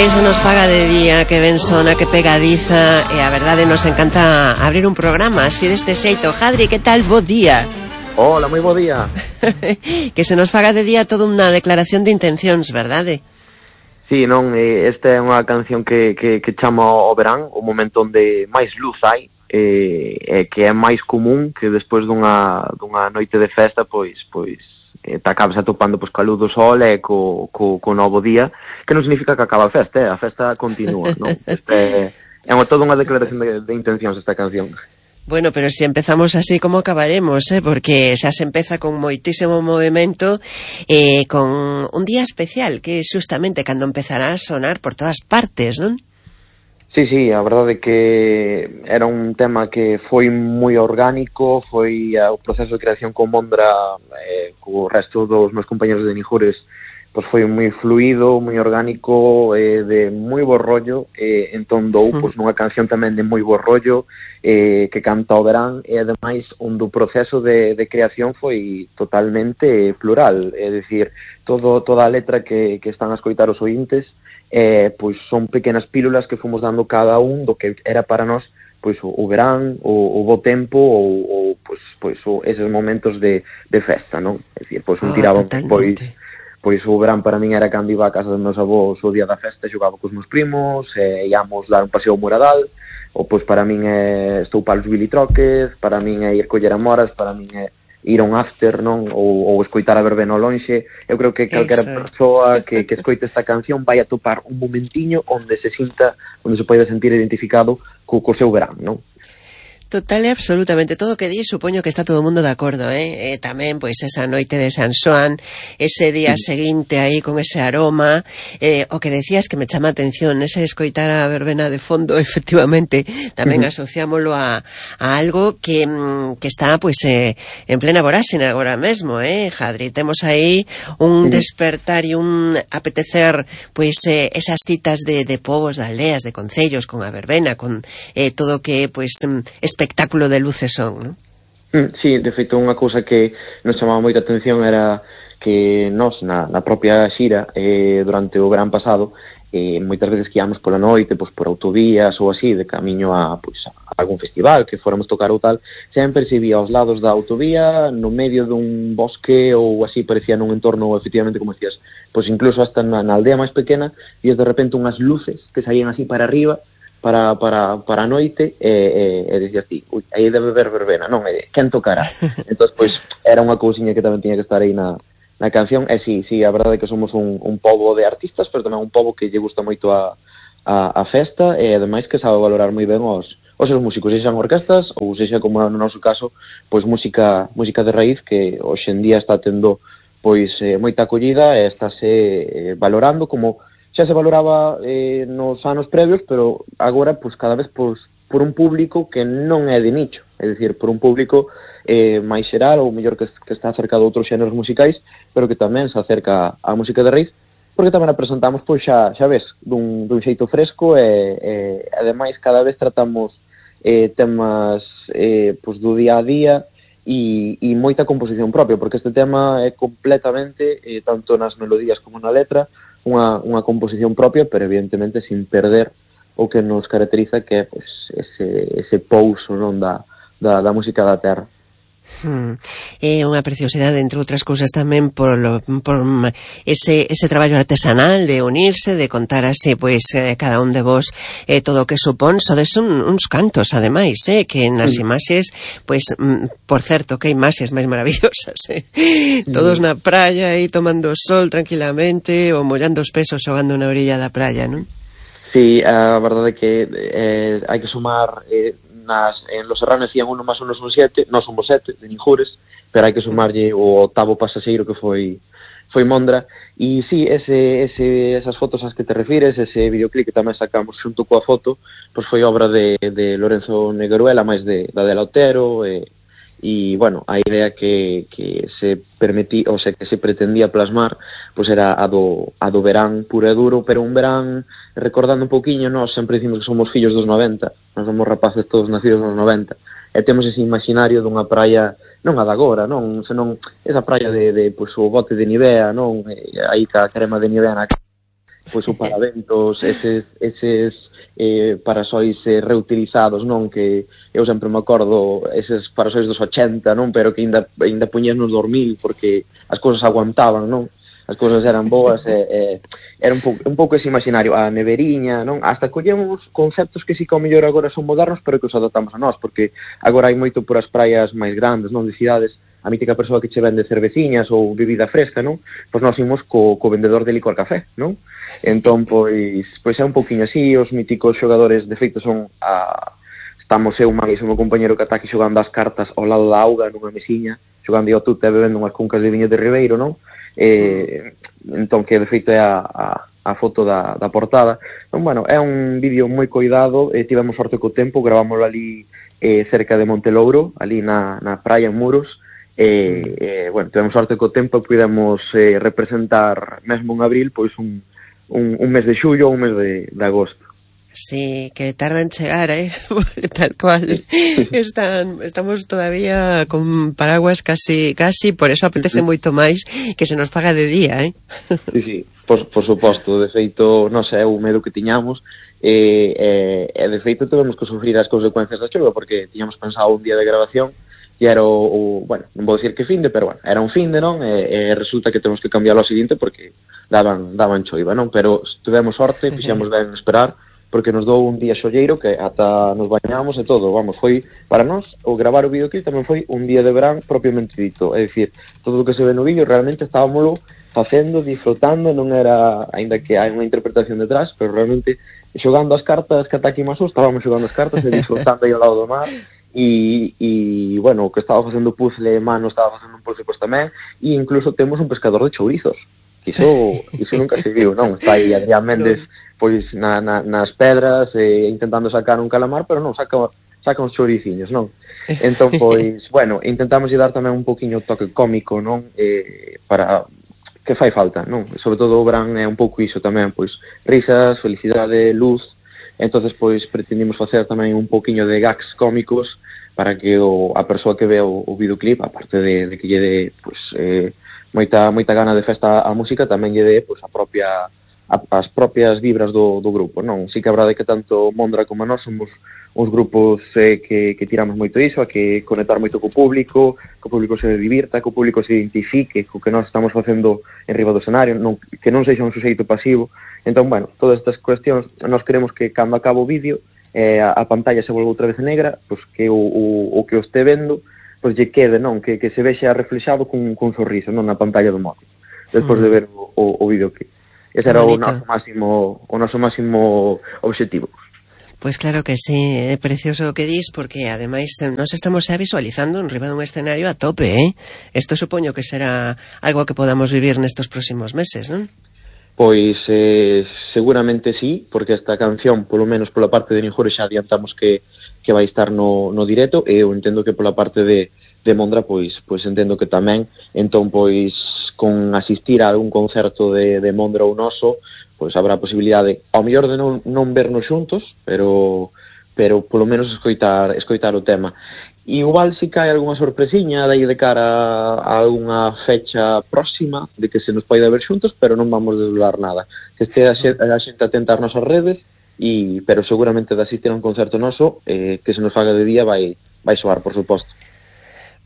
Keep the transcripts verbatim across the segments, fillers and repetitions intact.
Que se nos faga de día, que ben sona, que pegadiza. E a verdade nos encanta abrir un programa así deste xeito. Jadri, que tal? Bo día. Hola, moi bo día. Que se nos faga de día toda unha declaración de intencións, verdade? Sí, non, esta é unha canción que, que, que chama o verán, o momento onde máis luz hai, e que é máis común que despois dunha, dunha noite de festa, pois, pois te acabas atopando pois, ca luz do sol e co, co, co novo día, que non significa que acaba a festa, eh? A festa continúa, non? Este é unha, toda unha declaración de, de intencións esta canción. Bueno, pero se empezamos así, como acabaremos, eh? Porque xa se empeza con moitísimo movimento, eh, con un día especial, que é justamente cando empezará a sonar por todas partes, non? Sí, sí, a verdade é que era un tema que foi moi orgánico, foi uh, o proceso de creación con Mondra, eh, co resto dos meus compañeros de Nijures, pois foi moi fluido, moi orgánico, eh, de moi bo rollo, eh, entón dou pois, nunha canción tamén de moi bo rollo, eh, que canta o verán, e ademais onde o proceso de, de creación foi totalmente plural, é dicir, todo, toda a letra que, que están a escoitar os ointes, eh, pois son pequenas pílulas que fomos dando cada un do que era para nós pois o, o verán, o, o bo tempo ou, ou pois, pois o, eses momentos de, de festa, non? É dicir, pois un tiraba oh, pois pois o verán para min era cando iba a casa dos meus avós o día da festa, xogaba cos meus primos, e íamos dar un paseo ao Moradal, ou pois para min é estou para os bilitroques, para min é ir coller amoras, para min é ir a un after, non? Ou, ou escoitar a verbena ao lonxe. Eu creo que calquera persoa que, que escoite esta canción vai a topar un momentiño onde se sinta, onde se pode sentir identificado co, co seu verán, non? Total e absolutamente, todo o que di supoño que está todo o mundo de acordo, eh? E tamén, pois, esa noite de San Xoán, ese día sí. seguinte aí con ese aroma, eh, o que decías que me chama a atención, ese escoitar a verbena de fondo, efectivamente, tamén uh-huh. asociámoslo a, a algo que, que está, pois, eh, en plena voráxina agora mesmo, eh, Jadri? Temos aí un uh-huh. despertar e un apetecer, pois, eh, esas citas de, de povos, de aldeas, de concellos, con a verbena, con eh, todo o que, pois, espectáculo de luces son, non? Mm, sí, de feito, unha cousa que nos chamaba moita atención era que nós, na, na propia xira, eh, durante o verán pasado, eh, moitas veces que íamos pola noite, pois, por autovías ou así, de camiño a, pois, a algún festival que fóramos tocar ou tal, sempre se vía aos lados da autovía, no medio dun bosque ou así, parecía nun entorno, efectivamente, como decías, pois incluso hasta na, na aldea máis pequena, e de repente unhas luces que saían así para arriba, para, para, para a noite, e, e, e dicías ti, ui, aí debe ver verbena, non, e quen tocará? Entón, pois, era unha cousiña que tamén tiña que estar aí na, na canción, e sí, sí, a verdade é que somos un, un pobo de artistas, pero tamén un pobo que lle gusta moito a, a, a festa, e ademais que sabe valorar moi ben os, os seus músicos, sexan orquestas, ou sexa, como no noso caso, pois música, música de raíz, que hoxe en día está tendo, pois, eh, moita acollida, e estáse eh, valorando como xa se valoraba eh, nos anos previos, pero agora, pois, cada vez pois, por un público que non é de nicho, é dicir, por un público eh, máis xeral, ou mellor que, que está acerca de outros xéneros musicais, pero que tamén se acerca á música de raíz, porque tamén a presentamos, pois, xa, xa ves, dun, dun xeito fresco, e, e ademais cada vez tratamos eh, temas eh, pois, do día a día, e, e moita composición propia, porque este tema é completamente, eh, tanto nas melodías como na letra, Unha, unha composición propia, pero evidentemente sin perder o que nos caracteriza, que é pues, ese, ese pouso, non, da, da, da música da terra. Hmm. É unha preciosidade, entre outras cousas, tamén por, lo, por ese, ese traballo artesanal de unirse, de contar así, pois, eh, cada un de vos eh, todo o que supón. Sodes un, uns cantos, ademais, eh, que nas sí. imaxes, pois, mm, por certo, que imaxes máis maravillosas, eh? Sí. Todos na praia aí tomando sol tranquilamente, ou mollando os pesos xogando na orilla da praia, non? Sí, a verdade é que eh, hai que sumar... Eh, Nas, en Los Serranos decían uno más uno son siete, non somos sete, de Nijures, pero hai que sumarlle o octavo pasaxeiro que foi foi Mondra, e sí, ese, ese, esas fotos ás que te refires, ese videoclip que tamén sacamos xunto coa foto, pois foi obra de, de Lorenzo Negueruela, máis de, da de Lautero, e, e, bueno, a idea que, que se permití, ou sea, que se pretendía plasmar, pois era a do, a do verán puro e duro, pero un verán, recordando un pouquiño, nós sempre dicimos que somos fillos dos noventa, nós somos rapaces todos nacidos nos noventa, e temos ese imaginario dunha praia, non a da agora, non, senón esa praia de, de pois, o bote de Nivea, non, e aí ca crema de Nivea na pois o paraventos, eses, eses eh, parasois eh, reutilizados, non? Que eu sempre me acordo eses parasois dos ochenta, non? Pero que ainda, ainda puñían nos dormir porque as cousas aguantaban, non? As cousas eran boas e, e era un pouco, un pouco ese imaginario, a neveriña, non? Hasta collemos conceptos que si que ao mellor agora son modernos, pero que os adaptamos a nós, porque agora hai moito por as praias máis grandes, non? De cidades, a mítica persoa que che vende cerveciñas ou bebida fresca, non? Pois nós imos co, co vendedor de licor café, non? Entón, pois, pois é un pouquiño así, os míticos xogadores, de feito, son a... Estamos eu, máis o meu compañero que ata aquí xogando as cartas ao lado da auga, nunha mesiña, xogando ao tute e bebendo unhas cuncas de viño de Ribeiro, non? Eh, entón que de feito é a, a, a foto da, da portada. Entón, bueno, é un vídeo moi coidado, eh, tivemos sorte co tempo, gravámoslo ali eh, cerca de Montelouro, ali na, na praia en Muros, e, eh, bueno, tivemos sorte co tempo e pudemos eh, representar mesmo en abril, pois un, un, un mes de xullo ou un mes de, de agosto. Sí, que tarda en chegar, ¿eh? Tal cual. Están, estamos todavía con paraguas casi, casi, por eso apetece moito máis que se nos faga de día, ¿eh? Sí, sí, por, por suposto, de feito, non sei, o medo que tiñamos, e, e, e de feito tivemos que sufrir as consecuencias da chuva, porque tiñamos pensado un día de grabación, e era o, o bueno, non vou dicir que finde, pero bueno, era un finde, non? E, e resulta que temos que cambiarlo ao seguinte porque daban, daban choiva, non? Pero tivemos sorte, fixemos ben esperar, porque nos dou un día xolleiro que ata nos bañamos e todo, vamos, foi para nós o gravar o videoclip tamén foi un día de verán propiamente dito, é dicir, todo o que se ve no vídeo realmente estábamoslo facendo, disfrutando, non era, aínda que hai unha interpretación detrás, pero realmente xogando as cartas que ata aquí maso, estábamos xogando as cartas e disfrutando aí ao lado do mar, e, e bueno, o que estaba facendo puzzle mano estaba facendo un puzzle pois tamén, e incluso temos un pescador de chourizos, que iso, iso nunca se viu, non? Está aí Adrián Méndez pois na, na, nas pedras eh, intentando sacar un calamar, pero non, saca, saca uns chouriciños, non? Entón, pois, bueno, intentamos dar tamén un poquinho toque cómico, non? Eh, para que fai falta, non? Sobre todo o verán é un pouco iso tamén, pois, risas, felicidade, luz. Entonces, pois, pretendimos facer tamén un poquinho de gags cómicos para que o, a persoa que ve o, o videoclip, aparte de, de que lle dé, pois, eh, moita, moita gana de festa a música, tamén lle dé, pois, a propia as propias vibras do, do grupo, non? Si que a verdade que tanto Mondra como nós somos uns grupos eh, que, que tiramos moito iso, a que conectar moito co público, que o público se divirta, que o público se identifique co que nós estamos facendo en riba do escenario, non, que non sexa un suxeito pasivo. Entón, bueno, todas estas cuestións, nós queremos que cando acaba o vídeo eh, a, a pantalla se volva outra vez negra, pois que o, o, o que o este vendo pois lle quede, non? Que, que se vexa reflexado cun, cun sorriso, non? Na pantalla do móvil, despois mm. de ver o, o, o videoclip. Ese era o noso máximo, o noso máximo obxectivo. Pois claro que sí, é precioso o que dis, porque ademais nos estamos xa visualizando en riba dun escenario a tope, eh? Isto supoño que será algo que podamos vivir nestos próximos meses, non? Pois eh, seguramente sí, porque esta canción, polo menos pola parte de Ninjure, xa adiantamos que, que vai estar no, no directo, e eu entendo que pola parte de de Mondra, pois, pois entendo que tamén, entón, pois, con asistir a algún concerto de, de Mondra ou noso, pois habrá posibilidade, ao mellor de non, non vernos xuntos, pero, pero polo menos escoitar, escoitar o tema. E igual si cae algunha sorpresiña dai de cara a algunha fecha próxima de que se nos poida ver xuntos, pero non vamos desvelar nada. Que este a xente, a xente atenta ás nosas redes, e, pero seguramente de asistir a un concerto noso, eh, que se nos faga de día, vai, vai soar, por suposto.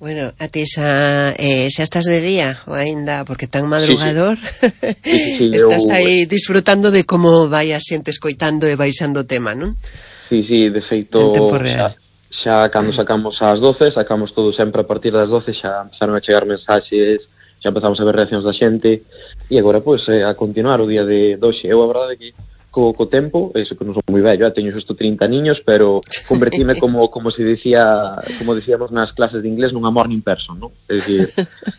Bueno, a ti xa, eh, xa estás de día ou aínda, porque tan madrugador, sí, sí. Sí, sí, sí, estás eu... aí disfrutando de como vai a xente escoitando e baixando o tema, non? Sí, sí, de feito, xa, xa cando sacamos ás doce, sacamos todo sempre a partir das doce, xa empezaron a chegar mensaxes, xa empezamos a ver reaccións da xente, e agora, pois, pues, a continuar o día de doxe. Eu, a verdade, que co, co tempo, eso que non son moi vello, eh, teño xusto trinta niños, pero convertime como como se dicía, como dicíamos nas clases de inglés, nunha morning person, non? É dicir,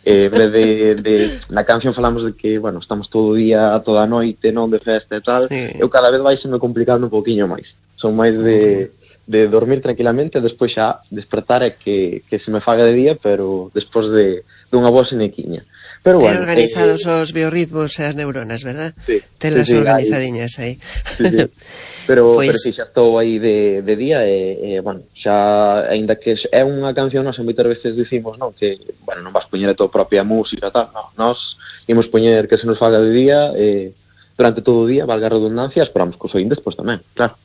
eh, en vez de, de na canción falamos de que, bueno, estamos todo o día, toda a noite, non, de festa e tal, sí. Eu cada vez vai se me complicando un poquinho máis. Son máis de de dormir tranquilamente e despois xa despertar e que, que se me faga de día, pero despois de dunha boa senequiña. Pero bueno, ten organizados eh, os biorritmos e as neuronas, verdad? Sí. Ten las sí, sí, organizadiñas aí. Sí, sí. Pero, pues... pero si xa estou aí de, de día e, e, bueno, xa, ainda que é unha canción, nós moitas veces dicimos, non, que, bueno, non vas poñer a tua propia música, tal, non, nós imos poñer que se nos faga de día e, durante todo o día, valga a redundancia, esperamos que os ointes, pois tamén, claro.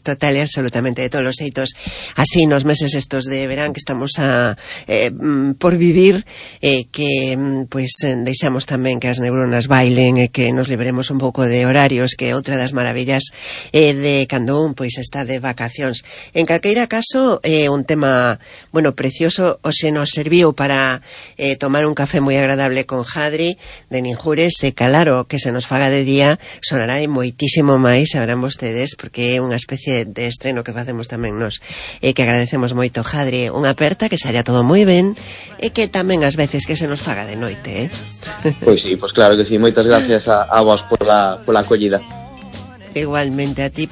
Total e absolutamente, de todos os xeitos, así nos meses estos de verán que estamos a eh, por vivir, eh, que pois deixamos tamén que as neuronas bailen e que nos liberemos un pouco de horarios, que outra das maravillas eh, de cando un pois está de vacacións. En calqueira caso, eh, un tema, bueno, precioso, hoxe nos serviu para eh, tomar un café moi agradable con Jadri de Ninjures, e claro, que se nos faga de día sonará moitísimo máis, sabrán vostedes, porque é un unha especie de estreno que facemos tamén nos, e que agradecemos moito, Jadri, unha aperta, que saia todo moi ben, e que tamén ás veces que se nos faga de noite, eh? Pois sí, pois claro que sí, moitas gracias a, a vos pola, pola acollida. Igualmente a ti.